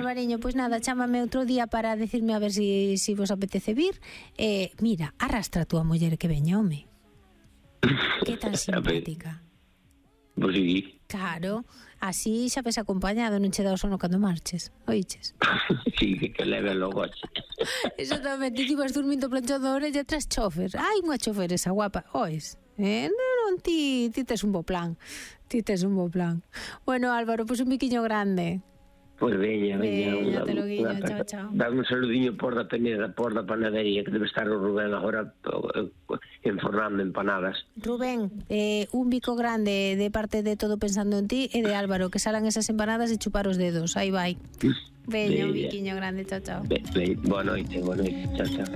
Alvariño, pois nada, chámame outro día para decirme a ver si vos apetece vir. Mira, arrastra a túa muller que veña, home. Que tan simpática. Pois sí. Claro, así xa ves acompañado, non che dá o sono cando marches, oiches? Sí, que leve logo. Exactamente, ti vas dormindo planchando a orella tras chofer. Ai, unha chofer esa guapa, ois? Non, ti tes un bo plan. Bueno, Álvaro, pois un biquiño grande. Pois veña. Te lo guiño, chao. Dame un saludiño por da Peneda, por da panadería, que debe estar o Rubén agora enfornando empanadas. Rubén, un bico grande de parte de Todo Pensando en Ti e de Álvaro, que salan esas empanadas e chupar os dedos. Aí vai. Veña, un biquiño grande, chao. Boa noite, chao.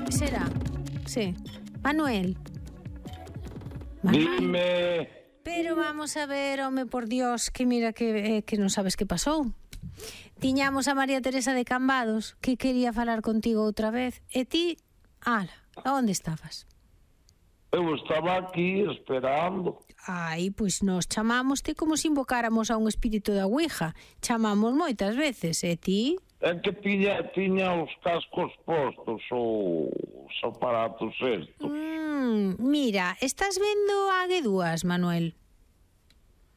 Será? Sí. Manuel. Dime. Pero vamos a ver, home, por Dios, que mira que non sabes que pasou. Tiñamos a María Teresa de Cambados, que quería falar contigo outra vez, e ti, onde estabas? Eu estaba aquí esperando. Ai, pois nos chamámoste como se invocáramos a un espírito da Ouija. Chamamos moitas veces, e ti? É que tiña os cascos postos, os aparatos estos. Mira, estás vendo a G2, Manuel?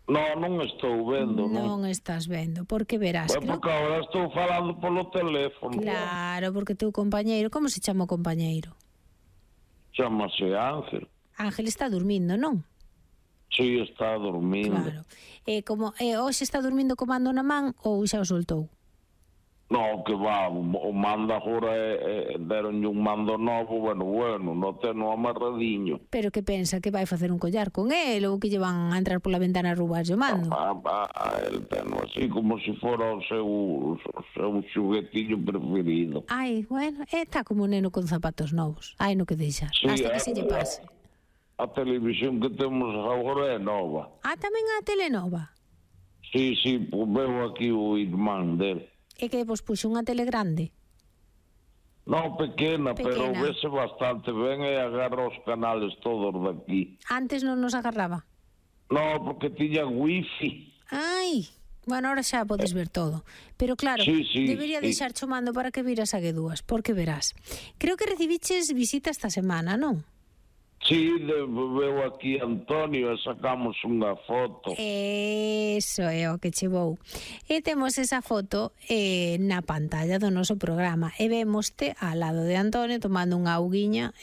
Non estou vendo, non estás vendo, porque verás. Porque agora estou falando polo teléfono. Claro, porque teu compañeiro, como se chama o compañeiro? Chámase Ángel. Ángel está dormindo, non? Sí, está dormindo. Claro. Hoxe está dormindo co mando na man ou xa o soltou? Non, que va, o mando agora deronlle un mando novo, bueno, non teno amarradiño. Pero que pensa, que vai facer un collar con el ou que lle van a entrar pola ventana a roubarlle o mando? El teno así como se fora o seu xuguetillo preferido. Ai, bueno, está como un neno con zapatos novos. Ai, no que deixa, sí, hasta que se lle pase. A televisión que temos agora é nova. Tamén a tele nova? Sí, veo aquí o irmán dele. E que vos puxo unha tele grande? Non, pequena, pero vese bastante ben e agarra os canales todos daqui. Antes non nos agarraba? Non, porque tiña wifi. Ai, bueno, ahora xa podes ver todo. Pero claro, debería deixar chamando para que viras a G2, porque verás. Creo que recibiches visita esta semana, non? Sí, veo aquí Antonio e sacamos unha foto. Eso é o que chevou. E temos esa foto na pantalla do noso programa. E vémoste ao lado de Antonio tomando unha auguiña,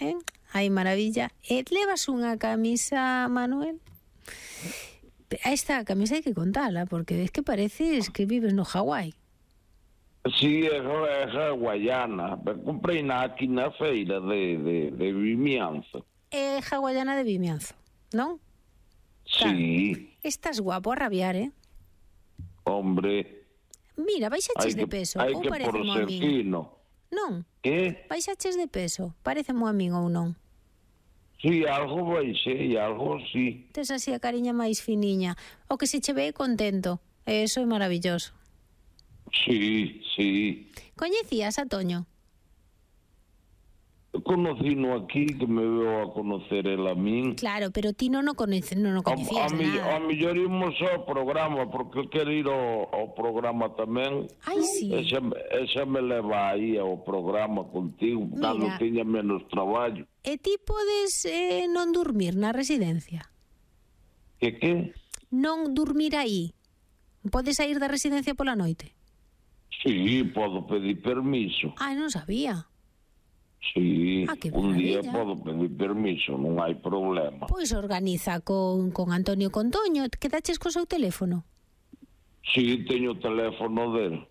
Ai, maravilla. E levas unha camisa, Manuel? Esta camisa hai que contala, porque es que pareces que vives no Hawái. Sí, é hawaiana. Comprei aquí na feira de Vimianzo. É hawaiana de Vimianzo, non? Sí. Estás guapo a rabiar, Hombre. Mira, baixaches de peso. Hai que por ser fino. Non? Que? Baixaches de peso. Parece moi amigo ou non? Sí, algo baixei, algo sí. Tes así a cariña máis finiña. O que se che ve contento. Eso é maravilloso. Sí. Coñecías a Toño? Conocino aquí, que me veo a conocer el a min. Claro, pero ti non o coñecías nada. A mellor imos ao programa, porque quero ir ao programa tamén. Ai, sí. Esa me leva aí ao programa contigo, cando tiña menos traballo. E ti podes non dormir na residencia? Que? Non dormir aí? Podes sair da residencia pola noite? Sí, podo pedir permiso. Ai, non sabía. Sí, un día podo pedir permiso, non hai problema. Pois organiza con Antonio con Toño. Quedaches co seu teléfono? Sí, teño o teléfono del.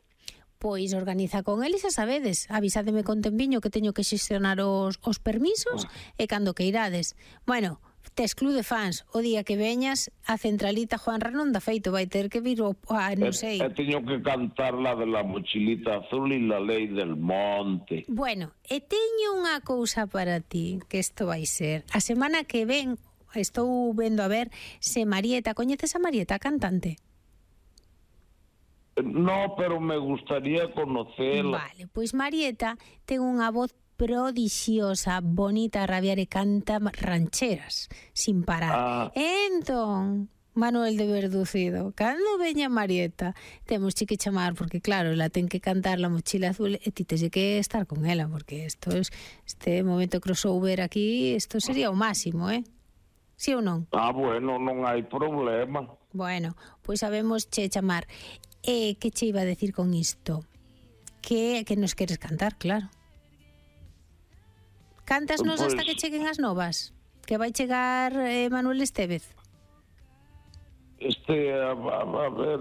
Pois organiza con el e xa sabedes. Avísademe con tempiño que teño que xestionar os permisos e cando que irades. Bueno, tes club de fans. O día que veñas, a centralita Juanra non dá feito, vai ter que vir non sei. E teño que cantar la de la mochilita azul e la ley del monte. Bueno, e teño unha cousa para ti, que isto vai ser. A semana que ven, estou vendo a ver se Marieta, coñeces a Marieta, cantante? No, pero me gustaría conocerla. Vale, pois Marieta ten unha voz prodixiosa, bonita a rabiar e canta rancheras sin parar. Entón, Manuel de Verducido. Cando veña Marieta, temos que chamar, porque claro, la ten que cantar La Mochila Azul e ti tens que estar con ela, porque este momento crossover aquí, isto sería o máximo, Sí ou non? Bueno, non hai problema. Bueno, pois sabemos che chamar. Que che iba a decir con isto? Que nos queres cantar, claro. Cántasnos hasta que cheguen as novas? Que vai chegar Manuel Estévez? A ver,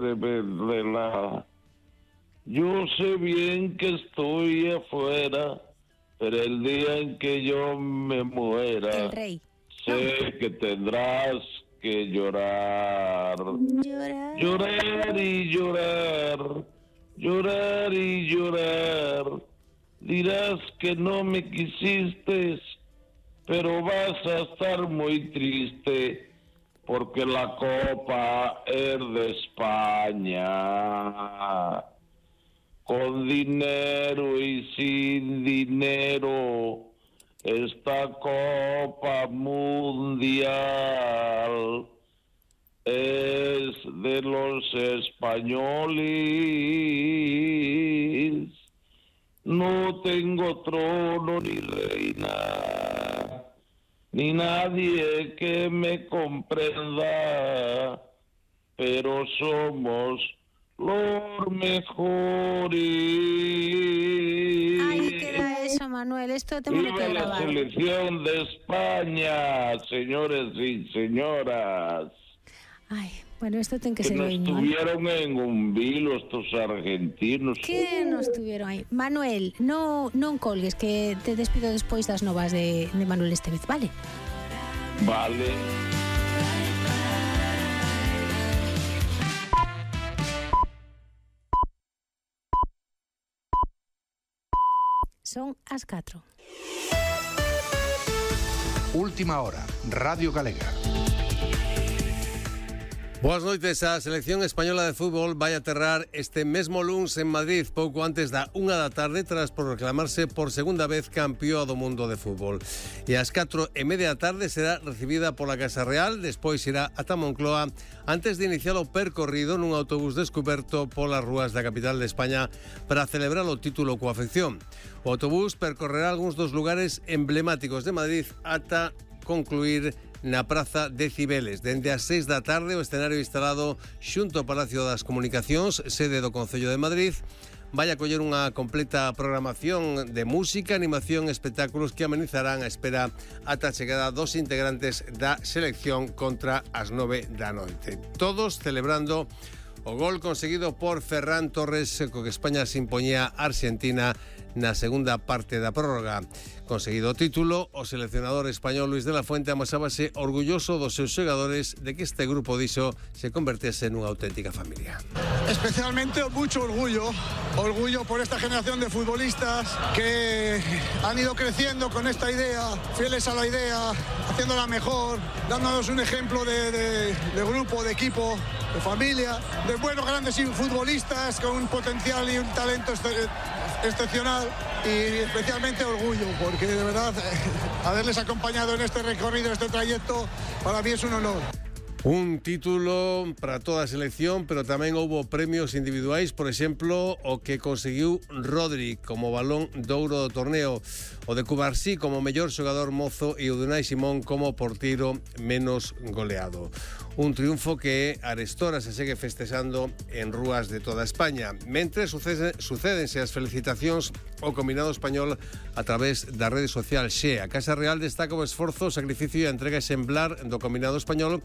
yo sé bien que estoy afuera, pero el día en que yo me muera, El rey. Sé que tendrás que llorar. Llorar y llorar. Llorar y llorar. Dirás que no me quisiste, pero vas a estar muy triste, porque la copa es de España. Con dinero y sin dinero, esta copa mundial es de los españoles. No tengo trono ni reina, ni nadie que me comprenda, pero somos los mejores. Ahí queda eso, Manuel. Esto tengo que grabar. ¡Viva la selección de España, señores y señoras! Ay, bueno, esto tiene que ser no hoy, ¿no? Estuvieron en un vilo estos argentinos. Que no estuvieron aí. Manuel, non colgues, que te despido despois das novas de Manuel Estévez, vale? Vale. Son as 4. Última hora, Radio Galega. Boas noites. A selección española de fútbol vai aterrar este mesmo luns en Madrid, pouco antes da 1 da tarde, tras proclamarse por segunda vez campeón do mundo de fútbol. E ás 4:30 da tarde será recibida pola Casa Real, despois irá ata Moncloa, antes de iniciar o percorrido nun autobús descuberto polas rúas da capital de España para celebrar o título coa afección. O autobús percorrerá algúns dos lugares emblemáticos de Madrid ata concluir na Praza de Cibeles. Dende as 6 da tarde, o escenario instalado xunto ao Palacio das Comunicacións, sede do Concello de Madrid, vai a coller unha completa programación de música, animación e espectáculos que amenizarán a espera ata a chegada dos integrantes da selección contra as 9 da noite. Todos celebrando o gol conseguido por Ferran Torres, co que España se impoñía a Argentina na segunda parte da prórroga. Conseguido o título, o seleccionador español Luis de la Fuente amosábase orgulloso dos seus xogadores de que este grupo dixo se convertese nunha auténtica familia. Especialmente mucho orgullo por esta generación de futbolistas que han ido creciendo con esta idea, fieles a la idea, haciéndola mejor, dándonos un ejemplo de grupo, de equipo, de familia, de buenos grandes futbolistas con un potencial y un talento excepcional, y especialmente orgullo porque de verdad haberles acompañado en este recorrido, este trayecto, para mí es un honor. Un título para toda a selección, pero tamén houbo premios individuais, por exemplo, o que conseguiu Rodri como balón de ouro do torneo, o de Cubarsí como mellor xogador mozo e o de Unai Simón como porteiro menos goleado. Un triunfo que arestora se segue festexando en rúas de toda España. Mentre sucédense as felicitacións ao combinado español a través da rede social Xe. A Casa Real destaca o esforzo, o sacrificio e a entrega exemplar do combinado español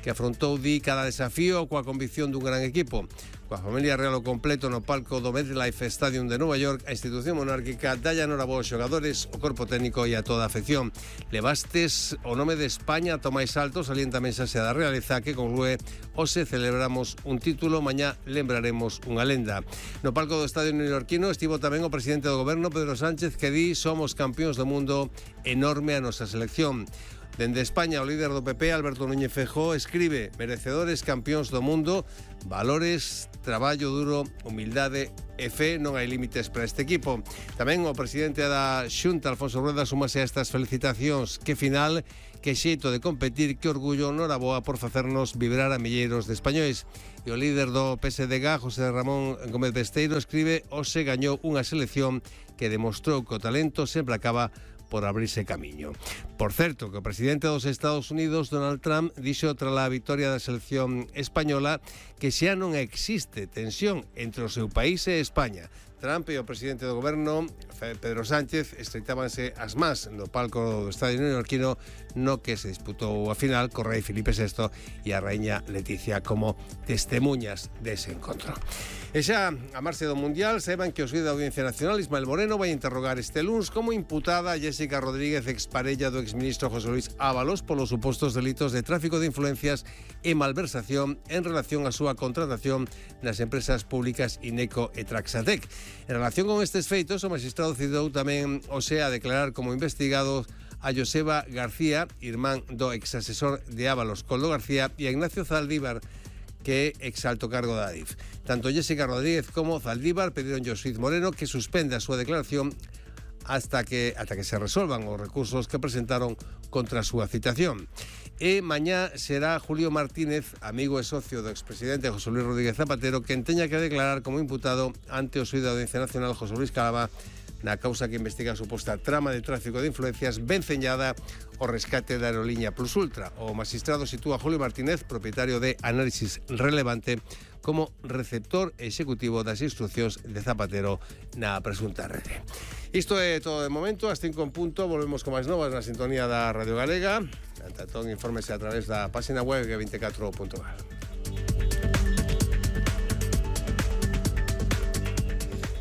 que afrontou cada desafío coa convicción dun gran equipo. Coa familia real ao completo no palco do MetLife Stadium de Nova York, a institución monárquica dalle enhoraboa aos xogadores, o corpo técnico e a toda a afección. Levastes o nome de España ata o máis alto, salienta a mensaxe da realeza que conclúe: hoxe celebramos un título, mañá lembraremos unha lenda. No palco do estadio neoyorquino estivo tamén o presidente do goberno, Pedro Sánchez, que di: somos campións do mundo, enorme a nosa selección. Dende España, o líder do PP, Alberto Núñez Feijóo, escribe: merecedores campións do mundo, valores, traballo duro, humildade e fe. Non hai límites para este equipo. Tamén o presidente da Xunta, Alfonso Rueda, súmase a estas felicitacións. Que final, que xeito de competir, que orgullo, noraboa por facernos vibrar a milleiros de españois. E o líder do PSDG, José Ramón Gómez Besteiro, escribe: hoxe gañou unha selección que demostrou que o talento sempre acaba por abrirse camiño. Por certo, que o presidente dos Estados Unidos, Donald Trump, dixo tras a victoria da selección española que xa non existe tensión entre o seu país e España. Trump e o presidente do goberno, Pedro Sánchez, estreitábanse as más no palco do estadio neoyorquino no que se disputou a final co rei Filipe VI e a raíña Leticia como testemunhas dese encontro. E xa a marxe do Mundial, saiban que o xuíz da Audiencia Nacional, Ismael Moreno, vai interrogar este luns como imputada a Jéssica Rodríguez, exparella do exministro José Luis Ábalos, polos supostos delitos de tráfico de influencias e malversación en relación á súa contratación nas empresas públicas Ineco e Traxatec. En relación con estes feitos, o magistrado cidou tamén hoxe a declarar como investigados a Joseba García, irmán do exasesor de Ábalos, Coldo García, e a Ignacio Zaldívar, que é exalto cargo da ADIF. Tanto Jéssica Rodríguez como Zaldívar pediron ao xuíz Moreno que suspenda a súa declaración ata que se resolvan os recursos que presentaron contra a súa citación. E mañá será Julio Martínez, amigo e socio do expresidente José Luis Rodríguez Zapatero, quen teña que declarar como imputado ante o xuíz da Audiencia Nacional, José Luis Calava, na causa que investiga a suposta trama de tráfico de influencias venceñada o rescate da aerolínea Plus Ultra. O magistrado sitúa a Julio Martínez, propietario de Análisis Relevante, como receptor executivo das instruccións de Zapatero na presunta rede. Isto é todo de momento. Ás 5 en punto volvemos con máis novas na sintonía da Radio Galega. Ante todo, infórmese a través da página web g24.gal.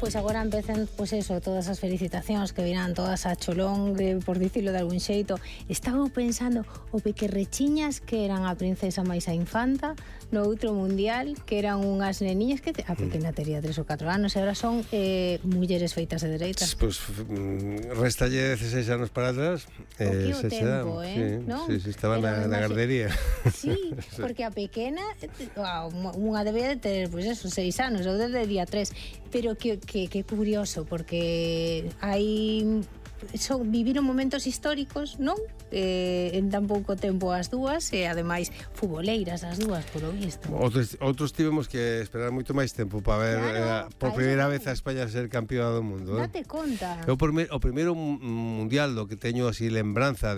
Pois agora empecen, pois eso, todas as felicitacións que virán todas a cholón, por dicilo de algún xeito. Estaba pensando o pequerrechiñas que eran a princesa máis a infanta no outro mundial, que eran unhas neniñas que a pequena tería 3 ou 4 anos e agora son mulleres feitas de dereitas. Pois restalle 16 anos para atrás. O que o tempo, non? Sí, estaba na gardería. Sí, porque a pequena unha debía de ter, pois eso, 6 anos, ou debería 3, pero que curioso, porque viviron momentos históricos, non? En tan pouco tempo as dúas, e ademais futboleiras as dúas, polo visto. Outros tivemos que esperar moito máis tempo para ver, claro, por primeira vez a España ser campeona do mundo. Date conta. O primeiro mundial do que teño así lembranza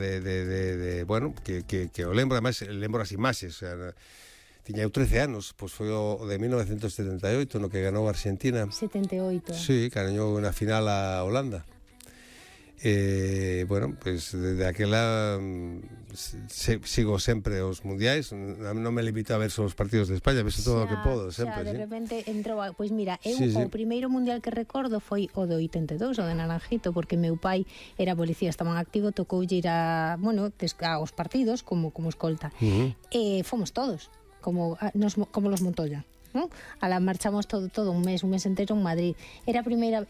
bueno, que o lembro, además lembro as imaxes, o sea, tiña eu 13 anos, pois foi o de 1978, no que ganou Argentina. 78. Sí, gañou na final a Holanda. Bueno, pois desde aquela sigo sempre os mundiais, non me limito a ver só os partidos de España, vejo todo o que podo, sempre. De repente entrou, pois mira, o primeiro mundial que recordo foi o do 82, o de Naranjito, porque meu pai era policía, estaba en activo, tocoulle ir aos partidos como escolta. E fomos todos. Como los Montoya, ¿no? Marchamos todo un mes entero en Madrid. Era pequena,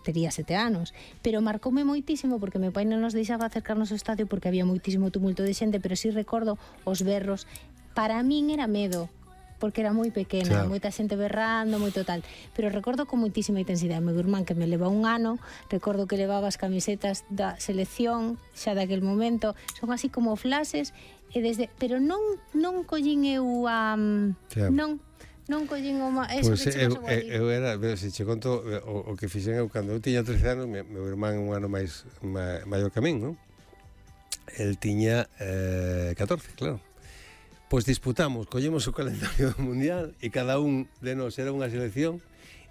tería 7 anos, pero marcoume moitísimo porque meu pai non nos deixaba acercarnos ao estadio porque había moitísimo tumulto de xente, pero sí recordo os berros. Para min era medo, porque era moi pequena, moita xente berrando, moito tal, pero recordo con moitísima intensidade. Meu irmán, que me leva un ano, recordo que levaba as camisetas da selección xa daquel momento, son así como flashes, pero non collín eu non collín o Pois eu era, se che conto o que fixen eu cando eu tiña 13 anos, meu irmán un ano máis maior que a min, non? El tiña 14, claro. Pois disputamos, collemos o calendario do mundial e cada un de nós era unha selección.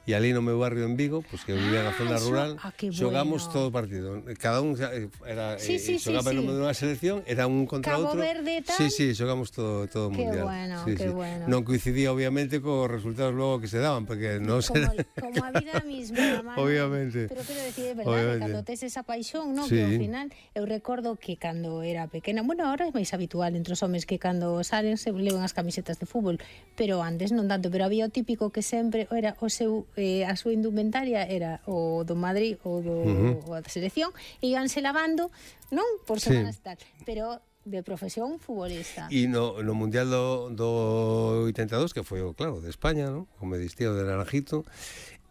E ali no meu barrio en Vigo, pois que eu vivía na zona rural, xogamos todo o partido. Cada un era xogaba no medio dunha selección, era un contra outro. Cabo Verde e tal. Sí, xogamos todo o mundial. Qué bueno. Non coincidía obviamente cos resultados logo que se daban, porque non como a vida misma, obviamente. Pero quero decir, é verdade, cando tes esa paixón, non? Que ao final eu recordo que cando era pequena, bueno, ahora é máis habitual entre os homes que cando salen se levan as camisetas de fútbol, pero antes non tanto, pero había o típico que sempre era o seu a súa indumentaria era o do Madrid ou da selección, e íanse lavando, non? Por semanas tal. Pero De profesión futbolista. E no Mundial do 82, que foi, claro, de España, ¿no? O medistío de Naranjito,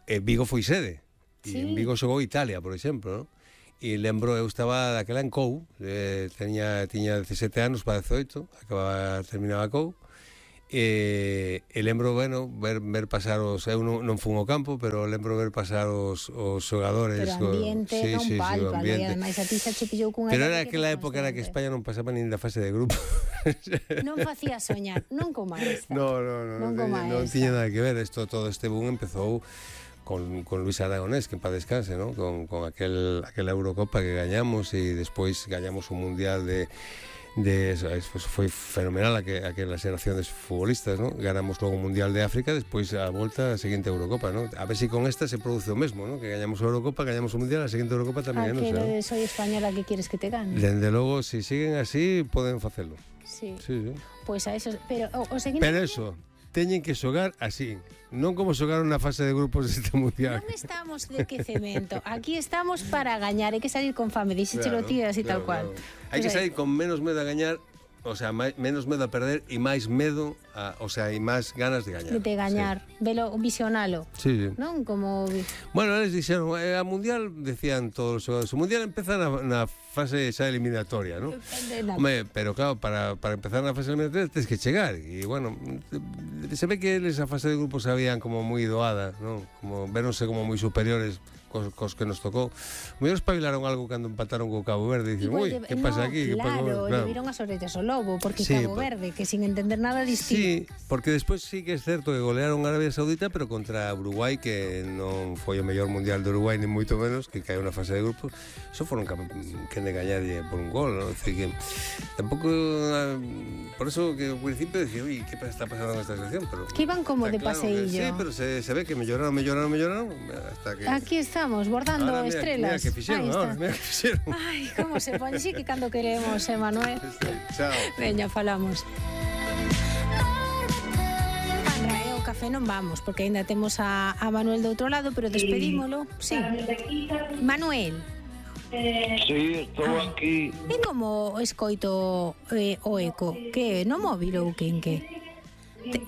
Vigo foi sede. E en Vigo xogou Italia, por exemplo, ¿no? E lembro, eu estaba daquela en COU, tiña 17 anos para 18, terminaba COU, e lembro, bueno, ver pasar eu non fun ao campo, pero lembro ver pasar os xogadores. Pero ambiente non palpa, ademais a ti xa che pillou cunha... Pero era aquela época era que España non pasaba nin da fase de grupo. Non facía soñar, non como esta. Non tiña nada que ver, todo este boom empezou con Luis Aragonés, que en paz descanse, ¿no? Con aquela Eurocopa que gañamos e despois gañamos un Mundial de eso, foi fenomenal aquela xeración de futbolistas, ¿no? Ganamos logo un Mundial de África, despois a volta a seguinte Eurocopa, ¿no? A ver se con esta se produce o mesmo, ¿no? Que gañamos a Eurocopa, gañamos o Mundial, a seguinte Eurocopa tamén, non sei. Soy española, que quieres que te gane? Dende logo, se siguen así, poden facelo. Sí. Pois a eso, pero o seguinte... Pero eso, teñen que xogar así, non como xogaron na fase de grupos deste Mundial. Non estamos de quecemento, aquí estamos para gañar, hai que salir con fame, dixéchelo ti así tal cual. Hai que salir con menos medo a gañar, o sea, menos medo a perder e máis medo, e máis ganas de gañar. De gañar, velo, visionalo. Sí. Non como... Bueno, eles dixeron, a Mundial, decían todos os xogadores, o Mundial empeza na fase xa eliminatoria, ¿no? Home, pero claro, para empezar na fase eliminatoria tens que chegar, e bueno, se ve que eles a fase de grupos sabían como moi doada, ¿no? Como veronse como moi superiores cos que nos tocou. Mellor espabilaron algo cando empataron co Cabo Verde e dicen, ui, que pasa aquí? Claro, lle viron as orellas ao lobo, porque Cabo Verde, que sin entender nada distinto. Sí, porque despois sí que é certo que golearon a Arabia Saudita, pero contra Uruguai, que non foi o mellor mundial de Uruguai, ni moito menos, que caeu na fase de grupos, só foron que de gañarlle por un gol, ¿no? Decir que tampouco, por eso que ao principio decía, ui, que está pasando nesta selección, pero que iban como de paseillo. Sí, pero se ve que melloraron hasta que... Aquí estamos, bordando ahora, estrelas. Mira que fixeron, mira que fixeron. Ai, como se pone, sí que cando queremos, Manuel. Chao. Veña, falamos. O café non vamos, porque ainda temos a Manuel do outro lado, pero despedímolo. Sí. Manuel. Sí, estou aquí. E como escoito o eco? Que no móvil ou que en que?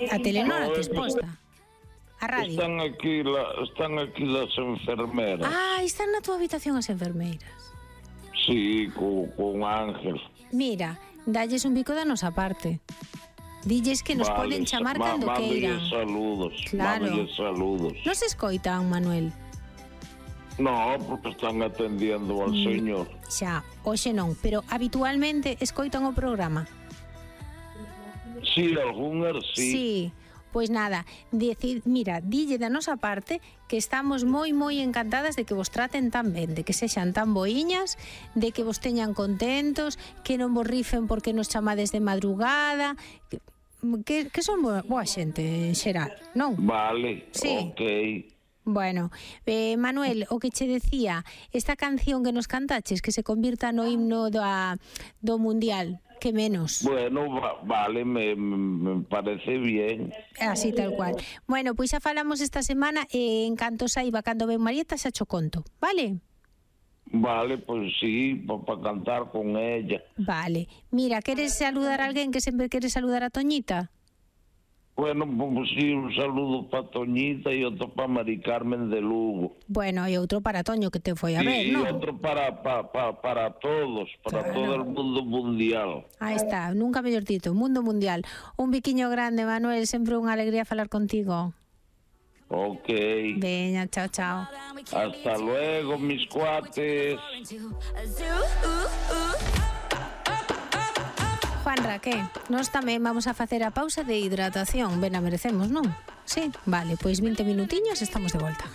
A telenora te exposta? A radio? Están aquí las enfermeras. Ah, están na tua habitación as enfermeiras. Sí, con Ángel. Mira, dalles un bico da nosa parte. Dilles que nos poden chamar cando queiran. Saludos. Claro. Saludos. Nos escoitan, Manuel? No, porque están atendiendo al señor. Xa, hoxe non, pero habitualmente escoitan o programa. Sí, algunhas sí. Sí, pois nada, mira, dille da nosa parte que estamos moi encantadas de que vos traten tan ben, de que sexan tan boiñas, de que vos teñan contentos, que non vos rifen porque nos chamades de madrugada, que son boa xente en xeral, non? Vale, sí. Ok. Bueno, Manuel, o que che decía, esta canción que nos cantaches, que se convirta no himno do Mundial, que menos. Bueno, vale, me parece bien. Así tal cual. Bueno, pois xa falamos esta semana e en canto saiba cando ven Marieta xa cho conto, vale? Vale, pues sí, para cantar con ella. Vale. Mira, queres saludar a alguén que sempre queres saludar a Toñita? Bueno, pues sí, un saludo para Toñita e outro para Mari Carmen de Lugo. Bueno, e outro para Toño que te foi a ver, ¿no? E outro para todos, para todo el mundo mundial. Aí está, nunca mellor dito, mundo mundial. Un biquiño grande, Manuel, sempre unha alegría falar contigo. Ok. Veña, chao, chao. Hasta luego, mis cuates. Juanra, que? Nós tamén vamos a facer a pausa de hidratación. Ben a merecemos, non? Sí, vale, pois 20 minutiños estamos de volta.